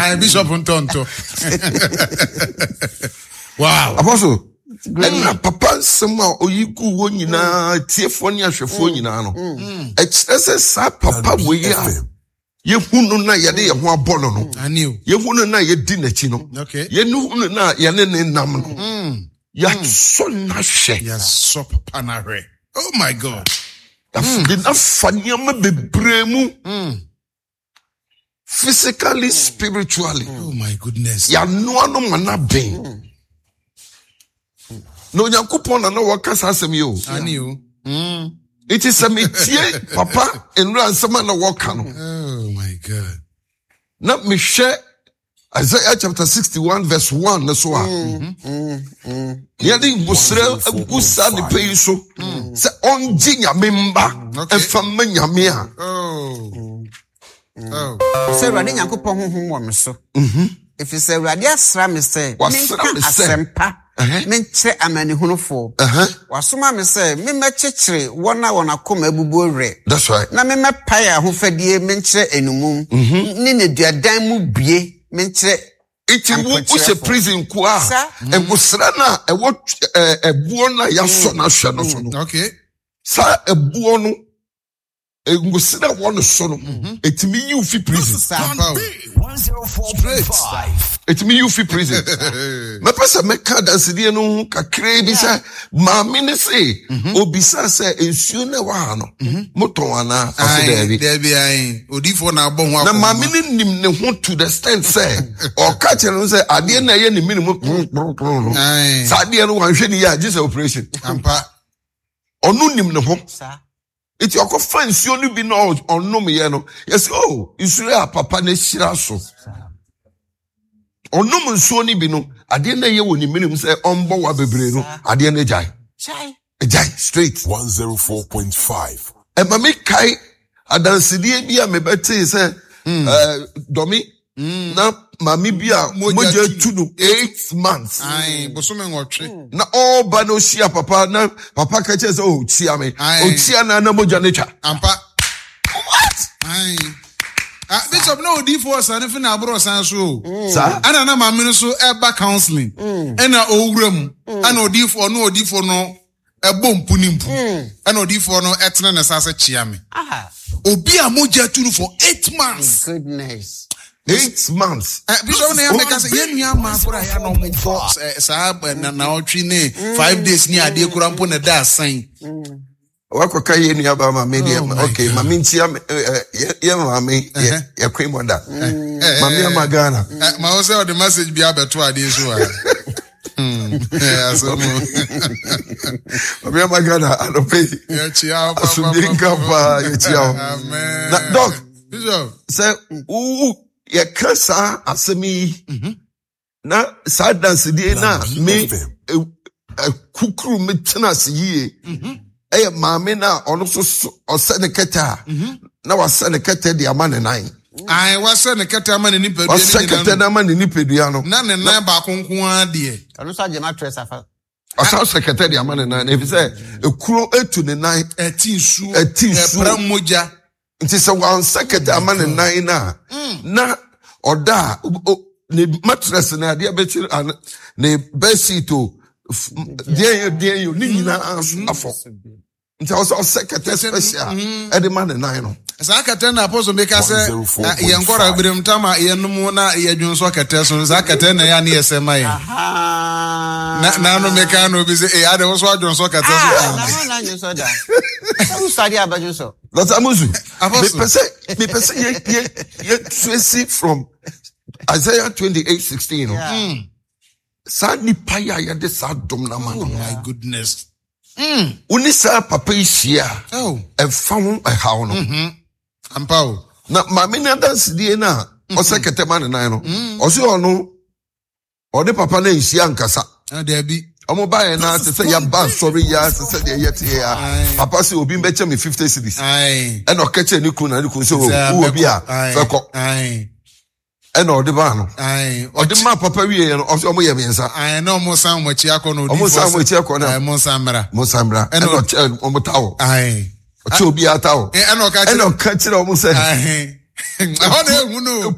Ayi bishop ntɔntɔ. Wow. Apostle, ɛna papa nsɛm a oyi gu hɔ nyinaa tiefoɔ ne ahwɛfoɔ nyinaa no ɛkyerɛ sɛ saa papa wei a yɛhu no na yɛde yɛn ho abɔ no no yɛhu no na yɛdi n'akyi no yɛhu no na yɛne ne nam no yɛasɔ n'ahwɛ. Yɛasɔ papa n'ahwɛ. Oh my God. Yɛde n'afa nneɛma bebree mu. Physically, spiritually. Oh my goodness. Yɛanoa no ma n'aben. Na Onyankopɔn na na wɔka saa asɛm yi o. Ani o. Nti sɛ metie papa nnura nsɛm a na wɔka no. Oh my God. Na mehwɛ Isaiah chapter 61 verse 1 no so a yɛde ngosrɛ agu saa nipa yi so sɛ ɔngye nyame mba ɛmfa mma nyame a oh. Oh. Sɛ Awurade Nyankopɔn honhom wɔ me so, ɛfiri sɛ Awurade asra me sɛ menka asɛmpa menkyerɛ amanehunufoɔ. Wasoma me sɛ memmɛkyekyere wɔn a wɔn akoma abubuo werɛ, na memmɛpae ahofadie menkyerɛ enumum, ne nneduadan mu bue menkyerɛ Nti wo wohyɛ prison nko a nkosra no a ɛwɔ ɛboɔ no a yɛasɔ no ahwɛ no so no saa ɛboɔ no ngosra wɔ no so no ɛtumi yi wo fi prison. Ɛtumi yi wo fi prison. Mɛpɛ sɛ mɛka adansedie no ho kakraa bi sɛ maame no se obisa sɛ nsuo no ɛwɔ ha no motɔn anaa? Ɔse daabi. Daabi ae. Odiifoɔ na abɔ ho Na maame no nim ne ho to the extent sɛ ɔka kyerɛ no sɛ adeɛ no ɛyɛ ne mene mu kporokporokporo no saa adeɛ no wanhwɛ ne yie a gye sɛ operation. Ampa. Ɔno nim ne ho. Nti ɔkɔfa nsuo no bi na ɔnomyɛ no yɛsɛ o oh, nsuo a papa no ahyira so. Ɔnom nsuo no bi no adeɛ no ɛyɛ wɔ ne mene mu sɛ ɔmbɔ wa bebree no adeɛ no gyae. Gyae straight. 104.5. Ɛma me kae adansedie bi a mebɛtee sɛ hmm. eh, dɔme hmm. na maame bi a mogya tu no 8 months. Bosome 8. Na ɔreba na ɔhyia papa na papa ka kyerɛ sɛ oh kyia me, ɔkyia na na mogya no twa. Ampa. What? Ah, bishop na odiifo ɔsan fi na aboro ɔsan so o. Saa. Ɛna na maame no so ɛba counseling. Ɛna owura mu. Ɛna odiifo ɔno odiifo no ɛbɔ mpu ne mpu. Ɛna odiifo no ɛtena ne nsa ase kyea me. Obi a mogya tu no for 8 months. Goodness. 8 months. Bishop na yɛn mɛka sɛ yɛn nua maa kora yɛn na wɔn kɔ saa na ɔtwe ne 5 days ne adeɛ kora mpo na ɛda asan. Wakɔka yɛ nua ba maame deɛ. Oh my ok, God. Maame nkyia yɛ maame yɛ queen mother maame ama Ghana. Ma wo sɛ ɔde message bi abɛto adeɛ so a. Asɛm o. Maame ama Ghana anɔpɛ yi Yɛkyia wo pa, asomdwe pa, pa, nka pa. paa, yɛkyia wo. Amen. Na doc Bishop. Sɛ wo yɛka saa asɛm yi na saa dansedie no a me kukuru me tena ase yie ɛyɛ maame no a ɔno nso so ɔsɛ ne kɛtɛ a na wasɛ ne kɛtɛ de ama ne nan. Ayi, wasɛ ne kɛtɛ ama ne nipadua. Wasɛ kɛtɛ no ama ne nipadua no. Na ne nan baako nko ara deɛ. Ɔno nso agye mattress afa. Ɔsan sɛ kɛtɛ de ama ne nan efisɛ ekuro etu ne nan. Ɛti nsuo. Ɛti nsuo. Ɛpra mogya. Nti sɛ wansɛ kɛtɛ ama ne nan no a na ɔda a ne mattress na adeɛ bɛkyere ne bed sheet o deɛ yɛ deɛ yɛ ne nyinaa so afɔ, nti ɔsɛ ɔsɛ kɛtɛ special ɛde ma ne nan no. Saa kɛtɛ na apɔso mi ka sɛ yɛn kɔra birim tam a yɛnom na yɛdwon sɔ kɛtɛ so, saa kɛtɛ na yɛ ne yɛsɛ ma yɛn. Na naanu mi ka na obi sɛ ee ade woso adwon sɔ kɛtɛ so. Ah, na na adwon sɔ da. Sɛ wosɔ adeɛ abɛdwon sɔ. Dr. Amusu, mepɛ sɛ yɛ trace from Isaiah 28:16 no. Saa nipa yi a yɛde saa dom no ama no. Oh my goodness. Wo ne saa papa yi hyia a, ɛmfa ho ɛhaw no. Ampa o. Na maame no adansedie no a ɔsɛ kɛtɛ ma ne nan no, ɔsɛ ɔno ɔne papa no nhyia nkasa. Ah, dabi. Ɔmo baeɛ no te sɛ yɛaba asɔre yi a te sɛ deɛ yɛte yɛ a papa sɛ obi mbɛkyɛ me 50 cedis ɛna ɔka kyerɛ ne kunu na ne kunu sɛ wowɔ bi a fɛkɔ ɛna ɔde maa no, ɔde maa papa wie yɛ no ɔsɛ ɔmo yɛ mmiɛnsa. Na ɔmo san ɔmo akyi akɔ na odi. Ɔmo san ɔmo akyi akɔ na mo nsan mmra. Mo nsan mmra, ɛna ɔkyɛ ɔmo tawɔ, ɔkyɛ obiara tawɔ, ɛna ɔka kyerɛ ɔmo sɛ ɛhɔ na ehu no.